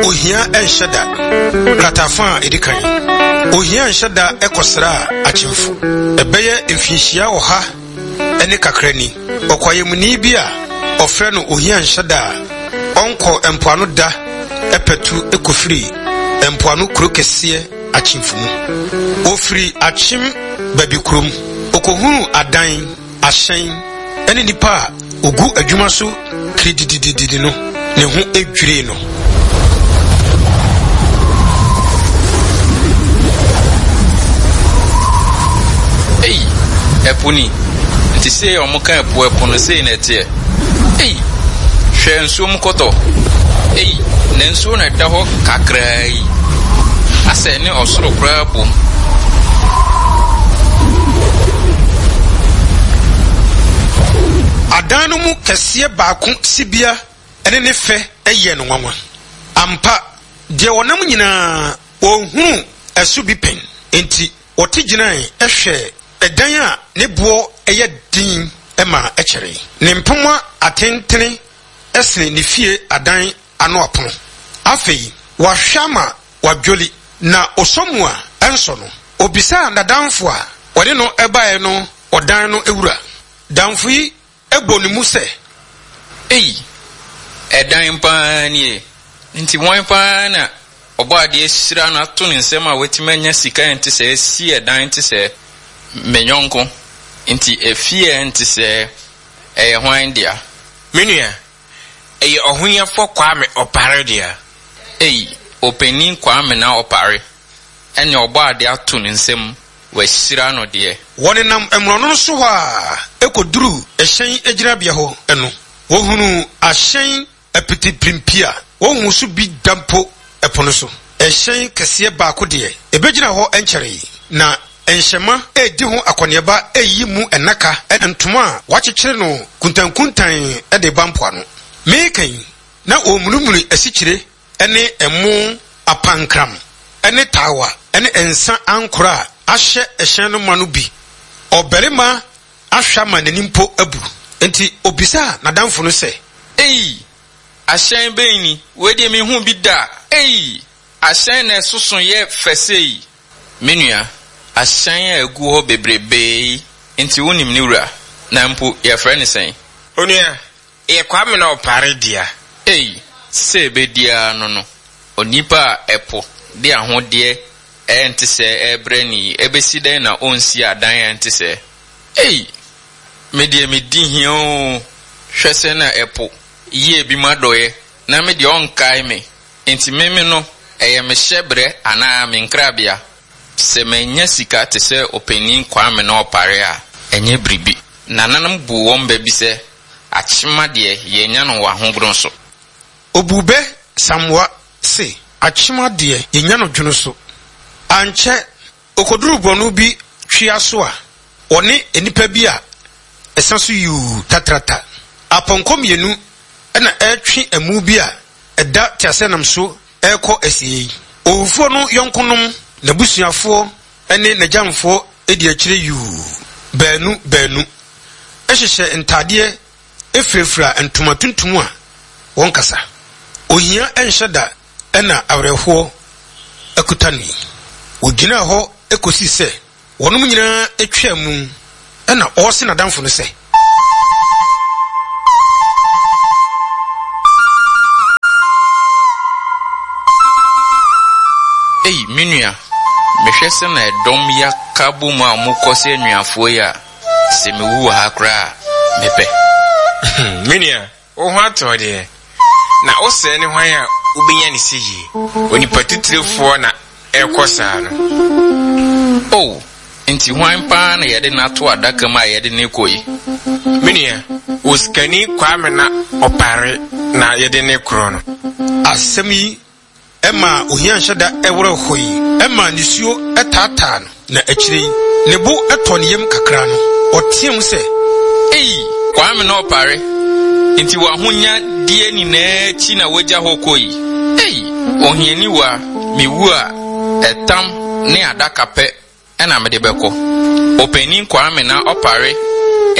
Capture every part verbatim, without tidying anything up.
Ohia nhyɛ da. Kratafa a ɛdi kan. Ohia nhyɛ da kɔsraa Akyemfo. Ɛbɛyɛ mfinhyia ɔha ne kakra ni. Ɔkwayamuni bi a ɔfrɛ no Ohia nhyɛ da a ɔnkɔ mpoano da pɛtu kɔfiri mpoano kuro kɛseɛ Akyemfo mu. Ɔfiri Akyem baabi kurom. Ɔkɔhunuu adan, ahyɛn ne nnipa a wɔgu adwuma so kirididididi no, ne ho dwirii no. Ei, ɛpo ni! Nti sei a wɔka ɛpo ɛpo no sei na ɛteɛ? Ei, hwɛ nsuo mu kɔtɔ! Ei, na nsuo na ɛda hɔ kakraa yi. Asɛ ɛne ɔsoro koraa bom. Adan no mu kɛseɛ baako sibea ne ne fɛ yɛɛ no nwanwa. Ampa, deɛ wɔnam nyinaa, wɔnhunuu ɛso bi pɛn. Enti wɔte gyinae hwɛɛ ɛdan a ne boɔ yɛ den ma ɛkyɛree. Ne mpomma atentene sene ne fie adan ano apono. Afei wahwɛ ama wadwoli, na ɔsɔ mu a, ɛnsɔ no. Ɔbisaa n'adamfo a ɔne no baeɛ no ɔdan no wura. Damfo yi bɔ ne mu sɛ. Ei! Ɛdan pa ara nie! Nti hwan pa ara na Ɔbɔadeɛ ahyira no ato ne nsam a watumi anya sika a ɛnte sɛɛ asi ɛdan te sɛɛ? Me yɔnko, nti efie a ɛnte sɛɛ, ɛyɛ hwan dea? Me nua, ɛyɛ Ɔhonyafoɔ Kwame Ɔpare dea. Ei! Ɔpanin Kwame na Ɔpare, ɛnneɛ Ɔbɔadeɛ ato ne nsam Wɔahyira no deɛ. Wɔnenam mmorɔno no so hɔ ara kɔduruu hyɛn gyinabea hɔ no, wɔhunuu ahyɛn apitipirimpi a wɔnhuu so bi da mpo po no so. Hyɛn kɛseɛ baako deɛ, ɛbɛgyinaa hɔ nkyɛree, na nhyɛmma redi ho akɔneaba reyiyi mu nnaka ne ntoma a wɔakyekyere no kuntankuntan de reba mpoano. Mereka yi, na wɔremunimuni asikyire ne ɛmo apankram ne tawa ne nsa ankora a ahyɛ hyɛn no ma no bi. Ɔbarima ahwɛ ama n'ani mpo abu. Enti obisaa n'adamfo no sɛ. Ei! Ahyɛn bɛn ni? Wei deɛ menhuu bi da! Ei! Ahyɛn na ɛsoso yɛ fɛ sei! Me nua, ahyɛn a ɛgu hɔ bebrebe yi nti wonim ne wura? Na mpo yɛfrɛ no sɛn? Onua, Ɛyɛ Kwame na Ɔpare dea. Ei, sɛ ɛbɛdi ara no no, onipa a ɛpo de ahodeɛ a ɛnte sɛɛ rebrɛ no yi, ɛbɛsi dɛn na ɔnsi adan a ɛnte sɛɛ? Ei, me deɛ medi hia oo, hwɛ sɛ na ɛpo yɛ ebinom adɔeɛ, na me deɛ ɔnkae me, enti me me no, ɛyɛ me hyɛberɛ anaa me nkrabea? Sɛ mannya sika te sɛ ɔpanin Kwame na Ɔpare a, ɛnyɛ biribi. Nananom buu wɔn bɛ bi sɛ, Akyema deɛ, yɛnya no wɔ ahogono so. Obuu bɛ Samoa se, Akyema deɛ, yɛnya no dwono so. Ankyɛ, okoduruu borɔno bi twea so a ɔne nnipa bi a ɛsa so yuu tatrata. Apɔnkɔ mmienu na ɛretwe amu bi a ɛda teaseɛnam so rekɔ asiei. Owufoɔ no yɔnkonom, n'abusuafoɔ ne n'agyamfoɔ di akyire yuu baanu baanu. hyehyɛ ntadeɛ firafira ntoma tuntum a wɔnkasa. Ohia nhyɛ da na awerɛhoɔ akuta no yi. Ɔgyinaa hɔ kɔsii sɛ wɔnom nyinaa twaa mu na ɔrese n'adamfo no sɛ. Ei, me nua, mehwɛ sɛnea ɛdɔm yi aka abom a wɔkɔ sɛ anuafoɔ yi a, Sɛ mewu wɔ ha koraa a, mepɛ. Me nua, wo ho atɔ wo deɛ, na wo sɛɛ ne hwan a wobɛnya ne seyie? Onipa titirefoɔ na ɛrekɔ saa no. O, nti hwan paa na yɛde no ato adaka mu a yɛde no rekɔ yi? Me nua, osikani Kwame na Ɔpare na yɛde no rekorɔ no. Asɛm yi Ɛmaa ohia nhyɛ da werɛ hoe, ɛmaa nisuo taataa no, na akyire yi, ne bo tɔɔ ne yam kakra no, ɔteaam sɛ. Ei, Kwame na ɔpare, nti w'ahonyadeɛ nyinaa akyi na woagya hɔ kɔ yi? Ei, ohianiwa, mewu a, ɛtam ne adaka pɛ na mede bɛkɔ. Ɔpanin Kwame na ɔpare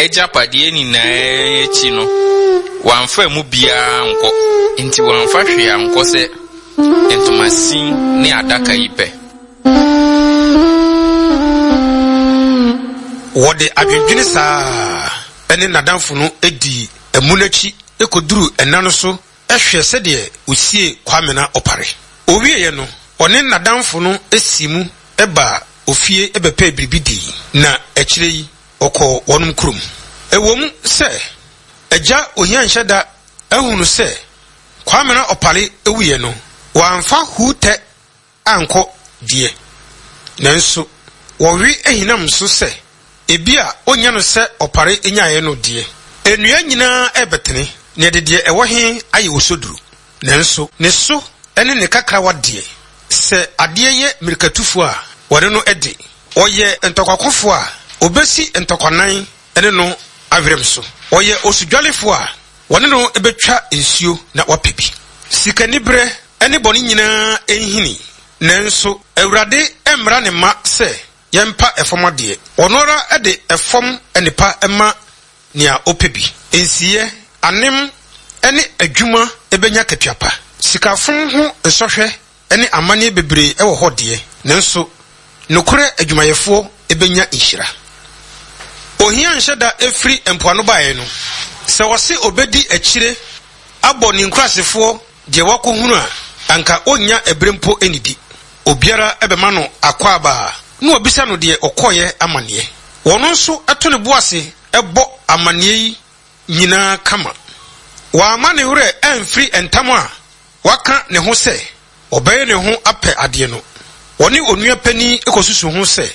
agyapadeɛ nyinaa akyi no, wamfa mu biara ankɔ. Enti wamfa hwee ankɔ sɛ ntomasin ne adaka yi pɛ. Wɔde adwendwene saa ne n'adamfo no dii amu no akyi kɔduruu ɛna no so hwɛɛ sɛdeɛ ɔsiee Kwamena Ɔpare. Ɔwieeɛ no, ɔne n'adamfo no sii mu baa ofie bɛpɛɛ biribi dii, na akyire yi ɔkɔɔ wɔnom kurom. Ɛwom sɛ Agya Ohianhyɛda ahunu sɛ Kwamena Ɔpare wuiɛ no, wamfa Huutɛ ankɔ deɛ, nanso wɔwe ahinam so sɛ ebia ɔnnya no sɛ Ɔpare nyaeɛ no deɛ. Nnua nyinaa rebɛtene, na yɛde deɛ ɛwɔ he ayɛ osoduru. Nanso ne so ne ne kakrawa deɛ, sɛ adeɛ yɛ mmirikatufoɔ a, wɔne no de. Ɔyɛ ntɔkwakofoɔ a, ɔbɛsi ntɔkwanan ne no awerɛm so. Ɔyɛ osudwalefoɔ a, wɔne no bɛtwa nsuo na wapɛ bi. Sikaniberɛ ne bɔne nyinaa nhini, nanso Awurade mmara ne mma sɛ yɛmpa ɛfam adeɛ. Ɔno ara de ɛfam nnepa ma nea ɔpɛ bi. Nsiyɛ, anem ne adwuma bɛnya akatua pa. Sikafom ho nsɔhwɛ ne amanneɛ bebree wɔ hɔ deɛ, nanso nokorɛ adwumayɛfoɔ bɛnya nhyira. Ohia nhyɛ da firi mpoano baeɛ no, sɛ ɔse ɔbɛdi akyire abɔ ne nkurasefoɔ deɛ wakɔhunu a, anka ɔnnya ɛberɛ mpo nnidi. Obiara bɛma no akwaaba a, na wabisa no deɛ ɔkɔeɛ amanneɛ. Ɔno nso to ne bo ase bɔ amanneɛ yi nyinaa kama. Wamma ne werɛ amfiri ntam a waka ne ho sɛ ɔbɛyɛ ne ho apɛ adeɛ no. Ɔne onua panin kɔsusu ho sɛ,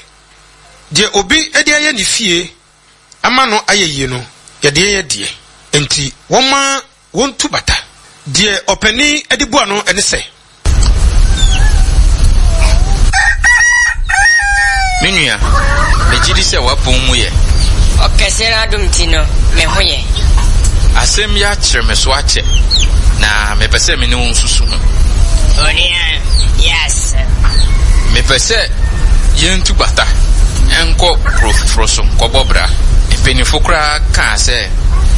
Deɛ obi de ayɛ ne fie ama no ayɛ yie no, yɛde yɛn deɛ. Enti wɔmma wɔntu bata. Deɛ ɔpanin de bua no ne sɛ. Me nua, megye di sɛ w'apɔw mu yɛ. Ɔkɛseɛ no adom nti no, me ho yɛ. Asɛm yi akyere me so akyɛ, na mepɛ sɛ me ne wo nsusu ho. Onua, yɛ asɛm. Mepɛ sɛ yɛntu bata nkɔ kuro foforɔ so nkɔbɔ bra. Mpanyinfo koraa kaa sɛ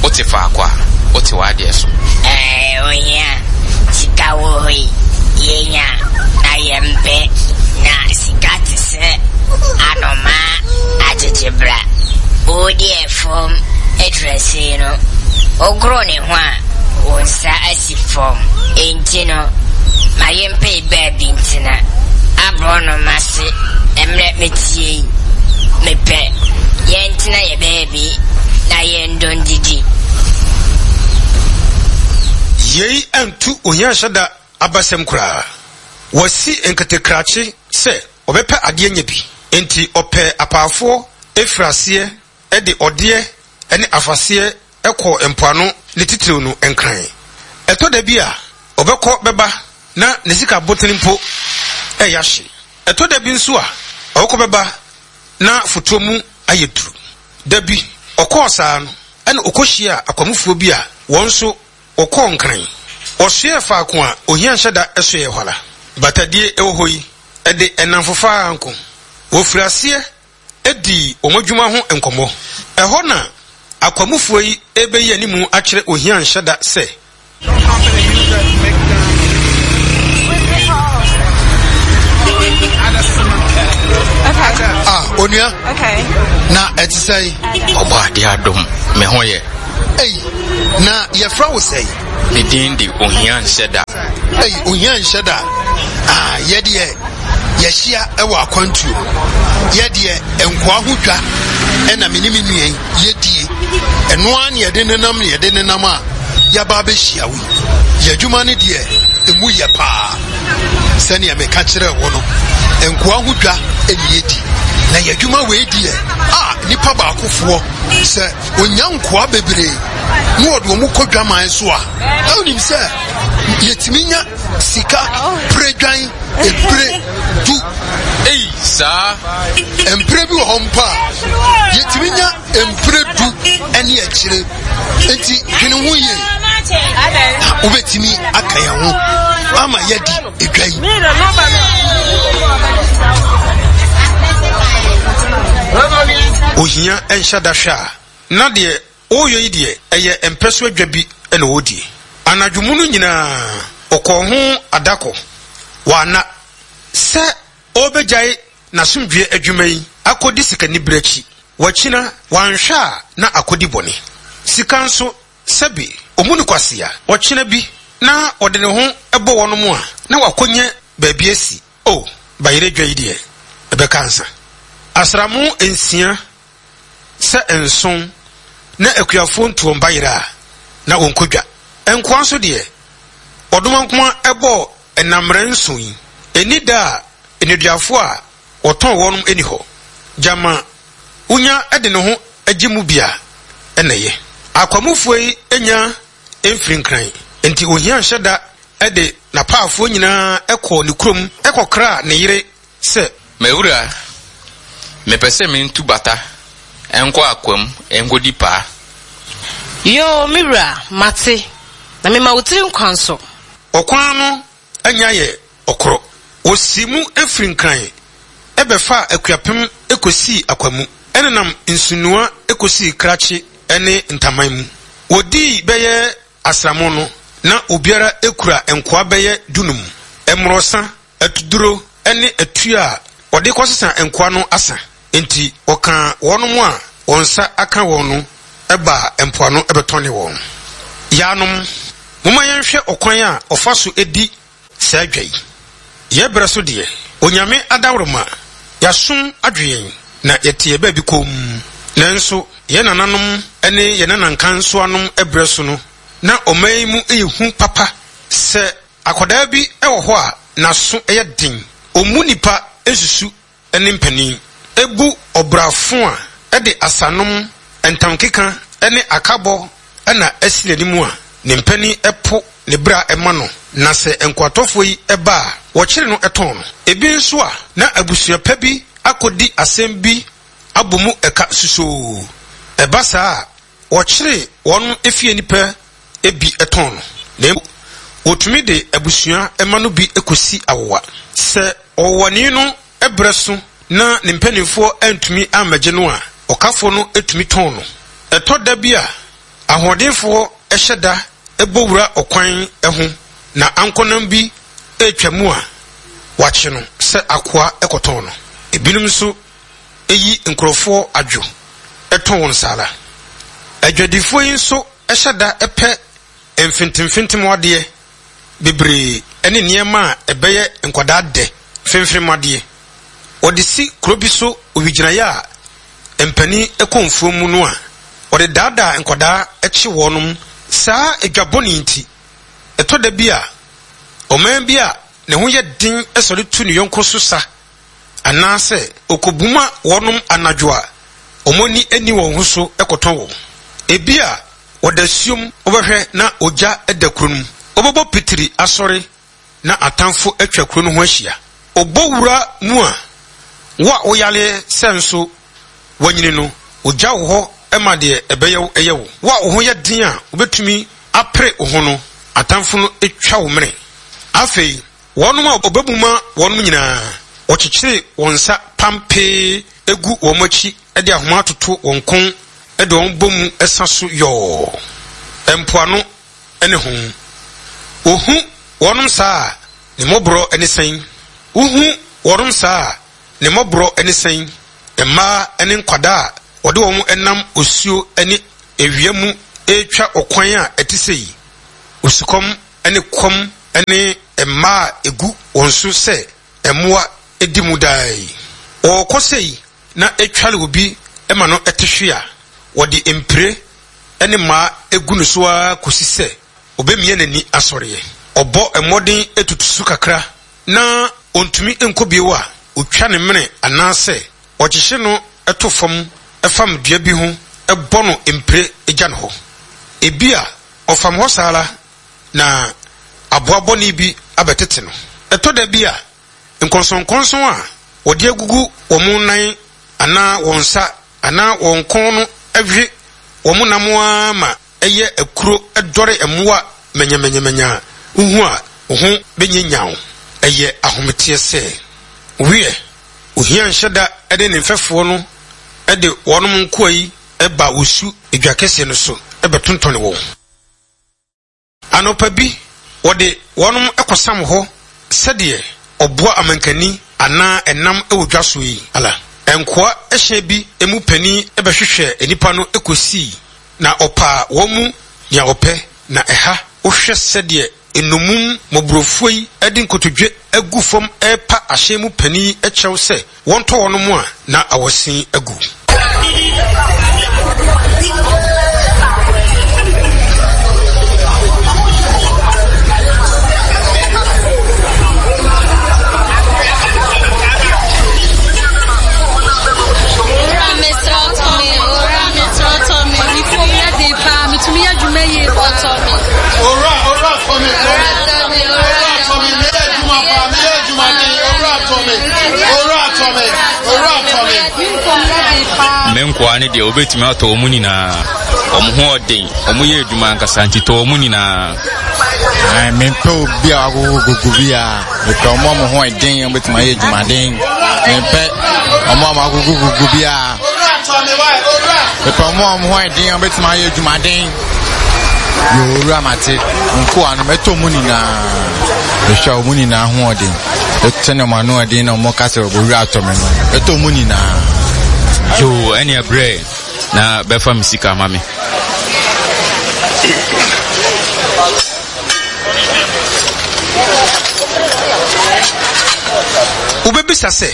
wote faako a, wote w'adeɛ so. Ɛɛ, ohia sika wɔ hɔ yi, yɛnya na yɛmpɛ, na sika te sɛ anomaa akyekyebra. Wodi ɛfam aturasee no, wogoro ne ho a, wo nsa asi fam. Enti no, ma yɛmpɛ baabi ntena. Aborɔnoma se, Mmerɛ metie yi, mepɛ yɛntena yɛ baabi na yɛndɔ ndidi. Yei antu ohia nhyɛ da abasɛm koraa. Wasi nketekrakye sɛ ɔbɛpɛ adeɛ anya bi, enti ɔpɛɛ apaafoɔ firii aseɛ de ɔdeɛ ne afaseɛ kɔɔ mpoano ne titiriw no Nkran. Ɛtɔ da bi a ɔbɛkɔ bɛba na ne sika botene mpo reyɛ ahye. Ɛtɔ da bi nso a ɔbɛkɔ bɛba na fotoɔ mu ayɛ duru. Da bi ɔkɔɔ saa no ɛna ɔkɔhyiaa akwamufoɔ bi a wɔn nso wɔkɔɔ Nkran. Wɔsoɛɛ faako a ohia nhyɛ da soɛɛ hɔ ara. Batadie wɔ hɔ yi, ɛde nnamfofa ara nko. Wɔfirii aseɛ dii wɔn adwuma ho nkɔmmɔ. Ɛhɔ na akwamufoɔ yi rebɛyi animu akyerɛ ohia nhyɛ da sɛ. Ah, onua. Na ɛte sɛn? Ɔbɔ adeɛ adom, me ho yɛ. Ei, na yɛfrɛ wo sɛn? Me din de Ohia Nhyɛ Da. Ei, Ohia Nhyɛ Da. Ah, yɛdeɛ yɛhyia wɔ akwantuo. Yɛdeɛ nkoa ho dwa ɛna me ne me nua yi yɛdie. Ɛno ara ne yɛde nenam ne yɛde nenam a yɛaba abɛhyia wo yi. Yɛn adwuma no deɛ emu yɛ paa. Sɛnea meka kyerɛɛ wo no, nkoa ho dwa ɛne yɛdi. Na yɛn adwuma wei deɛ, a nipa baakofoɔ sɛ onya nkoa bebree na wɔde wɔn kɔ dwaman so a, na wonim sɛ yɛtumi nya sika pere dwan mpire du. Ei, saa! Mpire bi wɔ hɔ mpo a, yɛtumi nya mpire du ne akyire. Enti dwene ho yie na wobɛtumi aka yɛn ho ama yɛadi edwa yi. Ohia nhyɛ da hwɛ a Na deɛ ɔreyɔ yi deɛ, ɛyɛ mpɛ so adwa bi na ɔredie. Anadwo mu no nyinaa, ɔkɔɔ ho adakɔ. Wanna sɛ ɔrebɛgyae n'asomdwoeɛ adwuma yi akɔdi sikanibere akyi. Wakyina, wanhwɛ a na akɔdi bɔne. Sika nso, sɛbe, ɔmu no kwasea. Ɔkyena bi na ɔde ne ho bɔ wɔnom a, na wakɔnya baabi asi. O, bayerɛ dwa yi deɛ, ɛbɛka ansa. Asramo nsia sɛ nson na akuafoɔ ntu wɔn bayerɛ a, na wɔnkɔ dwa. Nkoa nso deɛ, ɔdomankoma bɔɔ nnammerɛ nson yi, ɛnni da a nneduafoɔ a wɔtɔn wɔnom nni hɔ. Gyama wonya de ne ho gye mu bi a, ɛna ɛyɛ. Akwamufoɔ yi nya mfiri Nkran, enti ohia nhyɛ da de n'apaafoɔ nyinaa kɔɔ ne kurom kɔkraa ne yere sɛ. M'awura, mepɛ sɛ mentu bata nkɔ akwam nkɔdi paa. Yoo, me wura, mate, na mema wo tiri nkwa nso. Ɔkwan no anya yɛ ɔkorɔ. Wɔsii mu firi Nkran bɛfaa Akuapem kɔsii Akwamu, nenam Nsunoa kɔsii Krakye ne Ntaman mu. Wɔdii bɛyɛ asram no, na obiara kura nkoa bɛyɛ dunum. Mmorɔsa, atuduro ne atua a wɔde kɔsesa nkoa no asa. Enti wɔkaa wɔnom a wɔn nsa aka wɔn no baa mpoano bɛtɔnee wɔn. Yaanom, momma yɛnhwɛ ɔkwan a ɔfa so di saa dwa yi. Yɛn berɛ so deɛ, Onyame adaworoma, yɛasom adwo yɛn, na yɛte yɛn baabi komm. Nanso yɛn nananom ne yɛn nanankansowanom berɛ so no, na ɔman yi mu yɛ hu papa. Sɛ akwadaa bi wɔ hɔ a n'aso yɛ den, ɔmmu nnipa nsusu ne mpanin, bu ɔbrafo a ɛde asanom, ntamkeka ne akabɔ na asi n'anim a, ne mpanin po ne bra ma no, na sɛ nkoatɔfoɔ yi ba a, wɔkyere no tɔn no. Ebi nso a, na abusua pa bi akɔdi asɛm bi abɔ mu ka susoo. Ɛba saa a, wɔkyere wɔn fie nnipa bi tɔn no, na mmom wɔtumi de abusua mma no bi kɔsi awowa. Sɛ ɔwowani no berɛ so na ne mpanimfoɔ antumi ammɛgye no a, ɔkafoɔ no tumi tɔn no. Ɛtɔ da bi a, ahoɔdenfoɔ hyɛ da bɔ wura ɔkwan ho na ankonam bi retwa mu a, wɔakye no sɛ akoa kɔtɔn no. Ebinom nso yi nkurɔfoɔ adwo tɔn wɔn saa ara. Adwadifoɔ yi nso hyɛ da pɛ mfentemfentem adeɛ bebree ne nneɛma a ɛbɛyɛ nkwadaa dɛ femfem adeɛ. Wɔde si kuro bi so owigyinaeɛ a mpanin kɔ mfuo mu no a, wɔde daadaa nkwadaa kye wɔnom. Saa dwa bɔne yi nti, ɛtɔ da bi a, ɔman bi a ne ho yɛ den sɔre tu ne yɔnko so sa anaasɛ ɔkɔbuma wɔnom anadwo a wɔn ani nni wɔn ho so kɔtɔn wɔn. Ebia wɔda suom wobɛhwɛ na ogya da kuro no mu. Wobɛbɔ pitiri asɔre na atamfo atwa kuro no ho ahyia. Ɔbɔ wura mu a, wo a woyareɛ sɛ nso woanyini no, ogya wo hɔ ma deɛ ɛbɛyɛ wo yɛ wo. Wo a wo ho yɛ den a wobɛtumi apere wo ho no, atamfo no twa wo mene. Afei, wɔnom a ɔbɛmuma wɔnom nyinaa, wɔkyekyere wɔn nsa pampee gu wɔn akyi de ahoma atoto wɔn kɔn de wɔn bɔ mu sa so yɔɔ mpoano ne ho. Wohu wɔnom saa a, ne mmɔborɔ ne sɛn? Wohu wɔnom saa a, ne mmɔborɔ ne sɛn? Mmaa ne nkwadaa a wɔde wɔn nam osuo ne awia mu retwa ɔkwan a ɛte sei, osukɔm ne kɔm ne mmaa a egu wɔn so sɛ mmoa di mu daa yi. Wɔrekɔ sei na etware obi ma no te hwe a, wɔde mpire ne mmaa gu no so ara kosi sɛ obemia n'ani asɔreɛ. Ɔbɔ mmɔden tutu so kakra na ontumi nkɔ bio a, otwa ne mene anaasɛ ɔkyekye no to fam fam dua bi ho bɔ no mpire gya no hɔ. Ebia ɔfam hɔ saa ara na aboa bɔne bi abɛtete no. Ɛtɔ da bi a, nkɔnsɔnkɔnsɔn a wɔde agugu wɔn nan anaa wɔn nsa anaa wɔn kɔn no we wɔn nam ara ma ɛyɛ akuro dɔre mmoa manyamanyamanya a wuhu a wo ho benyanyan wo. Ɛyɛ ahometeɛ sɛ wiɛ, ohia nhyɛ da ne ne mfɛfoɔ no de wɔn nkoa yi ba Osu dwa kɛseɛ no so bɛtontɔne wɔn. Anɔpa bi, wɔde wɔnom kɔsam hɔ sɛdeɛ ɔboa amankani anaa ɛnam wɔ dwa so yi ala. Nkoa hyɛn bi mu panin bɛhwehwɛɛ nnipa no kɔsii na ɔpaa wɔn mu nea ɔpɛ, na ɛha wohwɛ sɛdeɛ nnommum mmɔborɔfoɔ yi de nkotodwe agu fam repa ahyɛn mu panin yi kyɛw sɛ wɔntɔ wɔnom a, na awɔsen agu. Owura mesrɛ wo tɔ me, owura mesrɛ wo tɔ me, me fom yɛ den paa, metumi yɛ adwuma yie paa tɔ me. Owura, owura tɔ me, owura tɔ me, meyɛ adwuma paa, meyɛ adwuma den, owura tɔ me, owura tɔ me, owura tɔ me. Me nkoa ne deɛ wobɛtumi atɔ wɔn nyinaa. Wɔn ho ɔden, wɔn yɛ adwuma ankasa nti tɔ wɔn nyinaa. Ae, mempɛ obi a wagogogogo bi a mepɛ ɔmo a ɔmo ho ɛden ɔmo bɛtumi ayɛ adwumaden mempɛ ɔmo a ɔmo agogogogo bi a mepɛ ɔmo a ɔmo ho ɛden ɔmo bɛtumi ayɛ adwumaden yɛ owura mate nkoa no mɛtɔ mu nyinaa mehwɛ ɔmo nyinaa ho ɔden sɛnea ɔmo ano ɔden na ɔmo ka sɛ owura atɔ me no mɛtɔ mu nyinaa. Yoo, ɛnea brɛ na bɛfa me sika ma me. Wobɛbisa sɛ,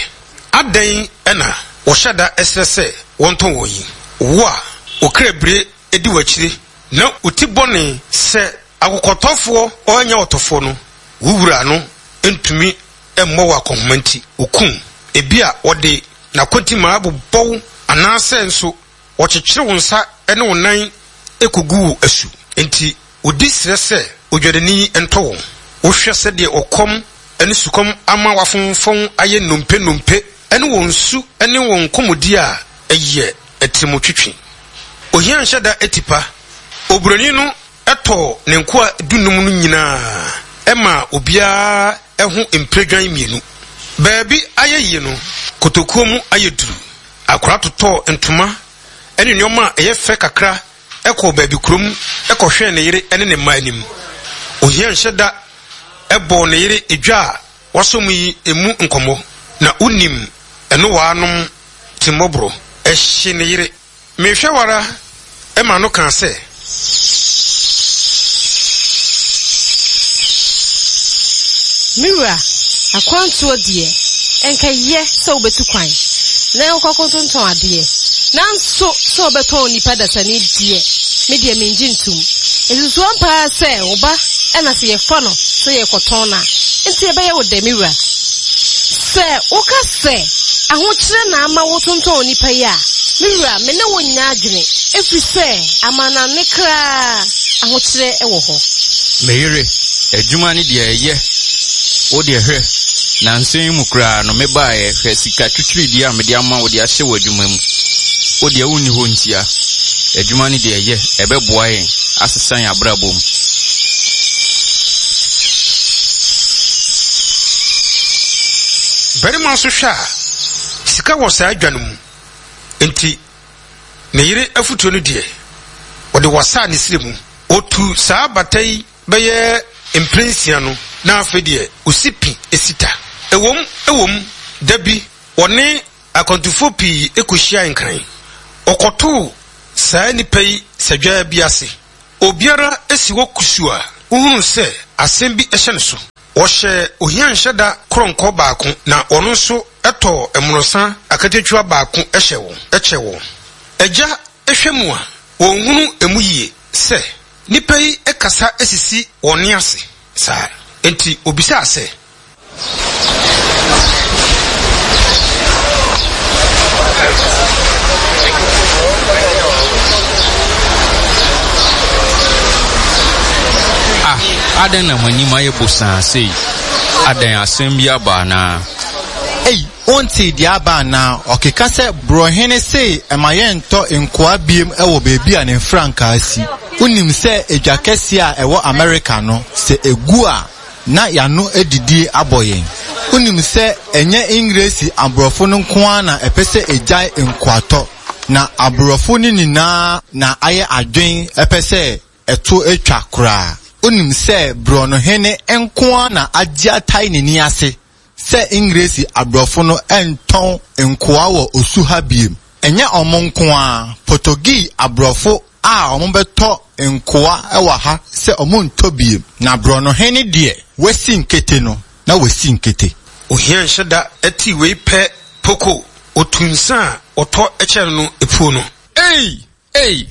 Adɛn na wɔhyɛ da srɛ sɛ wɔntɔn wɔn yi? Wo a wo kra bire di w'akyire na wo ti bɔne sɛ akokɔtɔfoɔ ɔrenya ɔtɔfoɔ no, wo wura no ntumi mmɔ wo akɔnhoma nti, ɔku wo. Ebia ɔde n'akontimmaa bobɔ wo anaasɛ nso ɔkyekyere wo nsa ne wo nan kɔgu wo asu. Enti wɔdi srɛ sɛ odwadani ntɔ wɔn. Wohwɛ sɛdeɛ ɔkɔm ne sukɔm ama wɔafomfɔn ayɛ nnompe nnompe ne wɔn su ne wɔn nkɔmmɔdi a, ɛyɛ atirimotwetwe. Ohia nhyɛ da tipa. Oburoni no tɔɔ ne nkoa dunum no nyinaa maa obiara ho mpiredwan mmienu. Baabi ayɛ yie no, kotokuo mu ayɛ duru. Akwadaa totɔɔ ntoma ne nneɛma a ɛyɛ fɛ kakra kɔɔ baabi kurom kɔhwɛɛ ne yere ne ne mma anim. Ohia nhyɛ da bɔɔ ne yere dwa a wasɔ mu yi mu nkɔmmɔ, na wonim ɛnowaanom timmɔborɔ. Ɛhye ne yere. Mehwɛ wo ara ma no kaa sɛ. Me wura, akwantuo deɛ, ɛnka ɛyɛ sɛ wobɛtu kwan na wokɔ akɔtontɔn adeɛ, nanso sɛ wobɛtɔn onipa dasani deɛ, me deɛ mengye ntom. Ɛsusu ampa ara sɛ wo ba na sɛ yɛfa no sɛ yɛrekɔtɔn no a, enti ɛbɛyɛ wo dɛ, me wura? Sɛ woka sɛ ahokyerɛ na ama wotontɔn onipa yi a, me wura, me ne wo nyɛ adwene, ɛfiri sɛ amannɔne koraa ahokyerɛ wɔ hɔ. Me yere, adwuma no deɛ ɛyɛ, wo deɛ hwɛ, nnansa yi mu koraa no mebaeɛ, hwɛ sika twitwiridie a mede ama wo de ahyɛ w'adwuma mu. Wo deɛ wonni hɔ ntia. Adwuma no deɛ ɛyɛ, ɛbɛboa yɛn asesa yɛn abrabɔ mu. Barima nso hwɛ a, sika wɔ saa dwa no mu, enti ne yere afotuo no deɛ, ɔde wasaa ne srɛ mu. Ɔtuu saa bata yi bɛyɛ mprɛnsia no, na afei deɛ ɔsi pi si ta. Ɛwom, ɛwom, da bi ɔne akwantufoɔ pii kɔhyiae Nkran. Ɔkɔtoo saa nnipa yi sadwaa bi ase. Obiara si hɔ kusuu a wohunuu sɛ asɛm bi hyɛ ne so. Wɔhyɛɛ ohia nhyɛda korɔnkɔ baako na ɔno nso tɔɔ mmorɔsa akatakyiwa baako hyɛɛ wɔn, kyɛɛ wɔn. Agya hwɛ mu a, wɔnhunu emu yie sɛ nnipa yi kasa sisi wɔn nne ase saa. Enti obisaa sɛ. Ah, adɛn na mo anim ayɛ bosaa sei? Adɛn, asɛm bi aba anaa? Ei, wontee deɛ aba anaa? Ɔkeka sɛ, Borɔhene se ɛma yɛntɔ nkoa biem wɔ baabi a ne mfrankaa si. Wonim sɛ edwa kɛseɛ a ɛwɔ Amerika no, sɛ ɛgu a, na y'ano adidie abɔ yɛn. Wonim sɛ ɛnyɛ Engiresi aborɔfo no nko ara na ɛpɛ sɛ egyae nkoatɔ, Na aborɔfo no nyinaa na ayɛ adwen pɛ sɛ ɛto atwa koraa. Wonim sɛ borɔnohene nko ara na agye atae n'ani ase sɛ Engiresi aborɔfo no ntɔn nkoa wɔ osu ha bio. Ɛnyɛ wɔn nko ara, Potogii aborɔfo a wɔbɛtɔ nkoa wɔ ha sɛ wɔntɔ bio. Na borɔnohene deɛ, wasi nkete no, na wasi nkete. Ohia nhyɛ da tee wei pɛ poko, otu nsa a ɔtɔ kyerɛ no no puo no. Ei! Ei!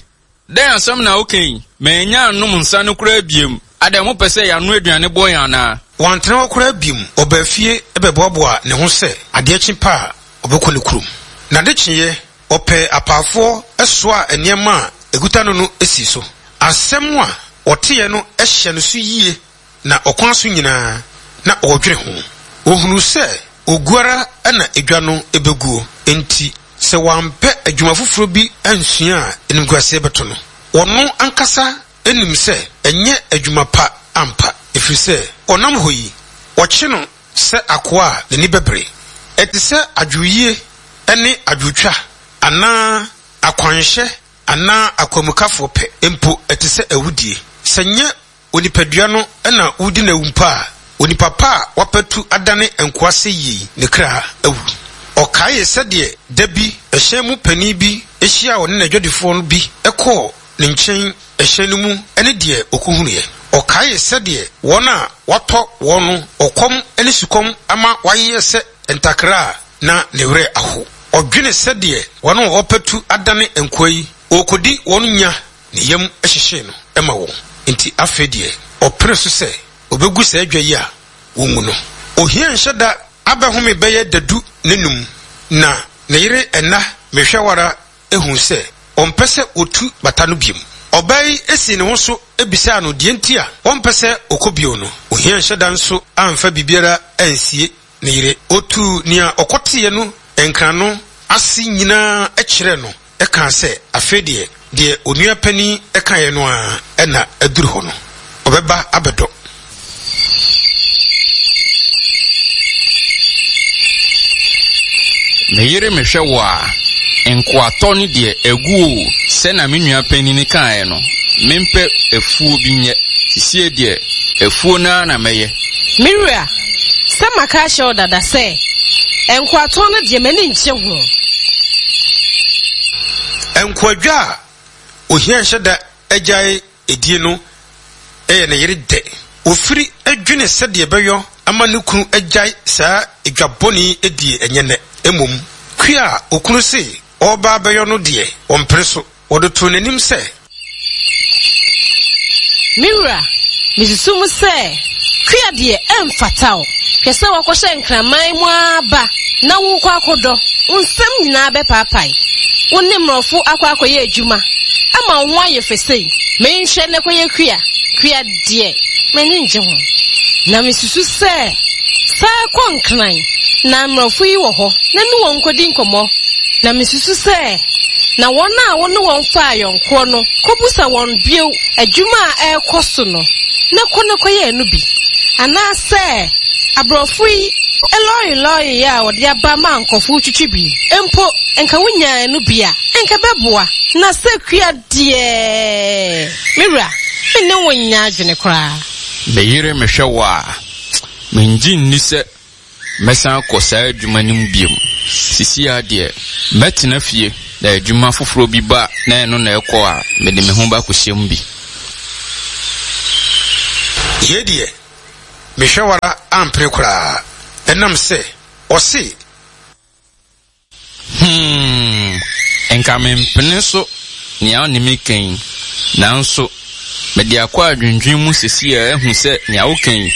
Dɛn asɛm na woka yi? Mannya annom nsa no koraa biom. Adɛn, mopɛ sɛ yɛanoa aduane bɔ yɛn anaa? Wantena hɔ koraa biom. Ɔbaa fie bɛboaboaa ne ho sɛ adeɛ kye pɛ a, ɔbɛkɔ ne kurom. N'ade kyeeɛ, ɔpɛɛ apaafoɔ soaa nneɛma a ɛkuta no no sii so. Asɛm a ɔteeɛ no hyɛɛ no so yie na ɔkwan so nyinaa na ɔredwene ho. Ɔhunuu sɛ ɔgu ara na edwa no bɛguo, enti sɛ wampɛ adwuma foforɔ bi ansua a animguaseɛ bɛto no. Ɔno ankasa nim sɛ ɛnyɛ adwuma pa ampa, ɛfiri sɛ ɔnam hɔ yi, wɔkye no sɛ akoa a n'ani bɛbere. Ɛte sɛ adwoyie ne adwotwa anaa akwanhyɛ anaa akwamukafoɔ pɛ, mpo ɛte sɛ awudie. Sɛ nyɛ Onipadua no na wodi no awu mpo a, onipa pa a wapatu adane nkoa sɛ yei, ne kra awu. Ɔkaee sɛdeɛ da bi ɛhyɛn mu panin bi hyiaa ɔne n'adwadifoɔ no bi kɔɔ ne nkyɛn ɛhyɛn no mu ne deɛ ɔkɔhunuiɛ. Ɔkaee sɛdeɛ wɔn a watɔ wɔn no ɔkɔm ne sukɔm ama wɔayeyɛ sɛ ntakra a na ne werɛ aho. Ɔdwene sɛdeɛ wɔn a wɔapatu adane nkoa yi, ɔrekɔdi wɔn nya Ne yam hyehyee no ma wɔn, enti afei deɛ ɔpene so sɛ ɔbɛgu saa dwa yi a wɔngu no. Ohia nhyɛ da abɛhome bɛyɛ dadu nnanum, na ne yere Ɛna Mehwɛwara huu sɛ ɔmpɛ sɛ ɔtu bata no bio. Ɔbaa yi sii ne ho so bisaa no deɛ nti a ɔmpɛ sɛ ɔkɔ bio no. Ohia nhyɛ da nso amfa biribiara ansie ne yere. Ɔtuu nea ɔkɔteeɛ no nkrano ase nyinaa kyerɛɛ no kaa sɛ afei deɛ, deɛ onua panin kaeɛ no ara na aduru hɔ no, ɔbɛba abɛdɔ. Me yere mehwɛ wo a, nkoatɔ no deɛ agu o, sɛ na me nua panin kaeɛ no, mempɛ afuo bi nyɛ, sesie deɛ afuo no ara na mɛyɛ. Me wura, sɛ maka ahyɛ wo dada sɛ, nkoatɔ no deɛ m'ani nnye ho. Nkoadwa a ohia nhyɛ da agyae die no yɛ ne yere dɛ. Ofiri dwene sɛdeɛ ɛbɛyɔ ama ne kunu agyae saa dwa bɔne yi die ɛnyɛ nnɛ. Mmom, kua a okunu se ɔreba abɛyɔ no deɛ, ɔmpene so. Wɔde too n'anim sɛ. Me wura, misusu mu sɛ kua deɛ ɛmfata wo. Hwɛ sɛ woakɔhyɛ nkraman mu ara ba na worekɔ akɔdɔ, wo nsam nyinaa bɛpaapae. Wo ne mmorɔfo akɔ akɔyɛ adwuma ama wo ho ayɛ fɛ sei. Menhwɛ na kɔyɛ kua, kua deɛ, m'ani nnye ho. Na misusu sɛ san kɔ Nkran na mmorɔfo yi wɔ hɔ na ne wɔn nkɔdi nkɔmmɔ. Na misusu sɛ na wɔn a wo ne wɔn faa ayɔnkoɔ no kɔbisa wɔn bio adwuma a ɛrekɔ so no na kɔ na kɔyɛ ɛno bi. Anaasɛ aborɔfo yi lɔre lɔre a wɔde aba ma nkurɔfo retwitwi bi mpo, nka wonyaa ɛno bi a, nka ɛbɛboa. Na sɛ kua deɛ, me wura, me ne wo nyɛ adwene koraa. Me yere mehwɛ wo a, mengye nni sɛ Mɛsan akɔ saa adwuma no mu bio. Seesei ara deɛ, mɛtena fie, na adwuma foforɔ bi ba na ɛno na ɛkɔ a, mede me ho bɛakɔhyɛ mu bi. Yei deɛ, mehwɛ wo ara ampene koraa, ɛnam sɛ ɔse. Hmm, nka mempene so nea wo ne me ka yi, nanso mede akɔ adwendwen mu seesei ara ahu sɛ nea woka yi,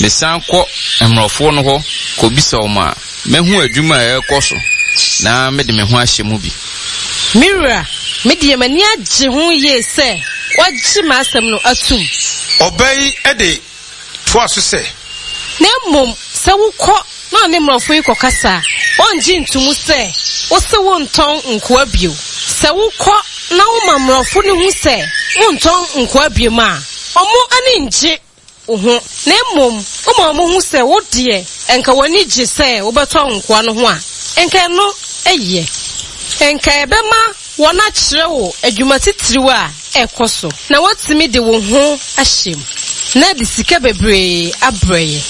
mesan kɔ mmorɔfoɔ no hɔ kɔbisa wɔn a, mɛhu adwuma a ɛrekɔ so na mede me ho ahyɛ mu bi. Me wura, me deɛ m'ani agye ho yie sɛ woagye m'asɛm no atom. Ɔbaa yi de toaa so sɛ. Na mmom sɛ wokɔ na ɔne mmorɔfo yi kɔkasa a, ɔrengye nto mu sɛ wose wontɔn nkoa bio. Sɛ wokɔ na woma mmorɔfo no hu sɛ wontɔn nkoa bio a, wɔn ani nngye wo ho. Na mmom woma wɔhu sɛ wo deɛ nka w'ani gye sɛ wobɛtɔn nkoa no ho a, nka ɛno yɛ. Nka ɛbɛma wɔakyerɛ wo adwuma titiriw a ɛkɔ so, na woatumi de wo ho ahyɛ mu, na de sika bebree abrɛ yɛn.